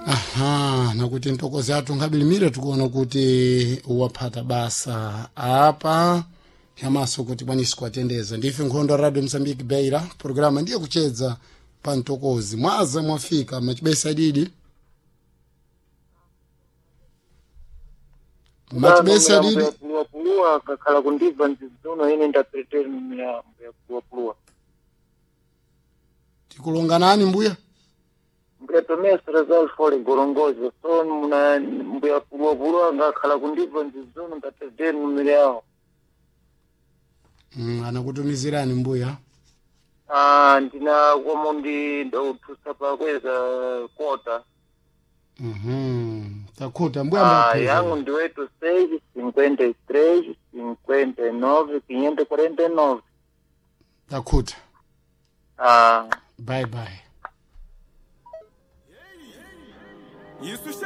Aha, nakuti ntokozi athu nkabilimire tikuona kuti waphata basa apa yamaso kuti kwanisi kuatendeza. Ndife nkhondo Radio Mozambique Beira, programa ndiye kuchedza pa ntokozi. Mwaza mwafika machibesa didi machibesa didi. Puluwa kakhala kundibva nzizuno ine ndapereteri miyambo ya puluwa. Tikulonganani mbuya? Mbuya Tomé Rezal Fole Gorongozo so muna mbuya puluwa puluwa ngakhala kundibva nzizuno ndapereteri numero yawo. Anakutumizirani mbuya? Ah, ndina komo ndi ndothusa pakweza kota. Takhuta mbuya. Ah, Mbapheza. yangu ndi 86 53 59 549. Takhuta. Ah. Bye bye. Isso.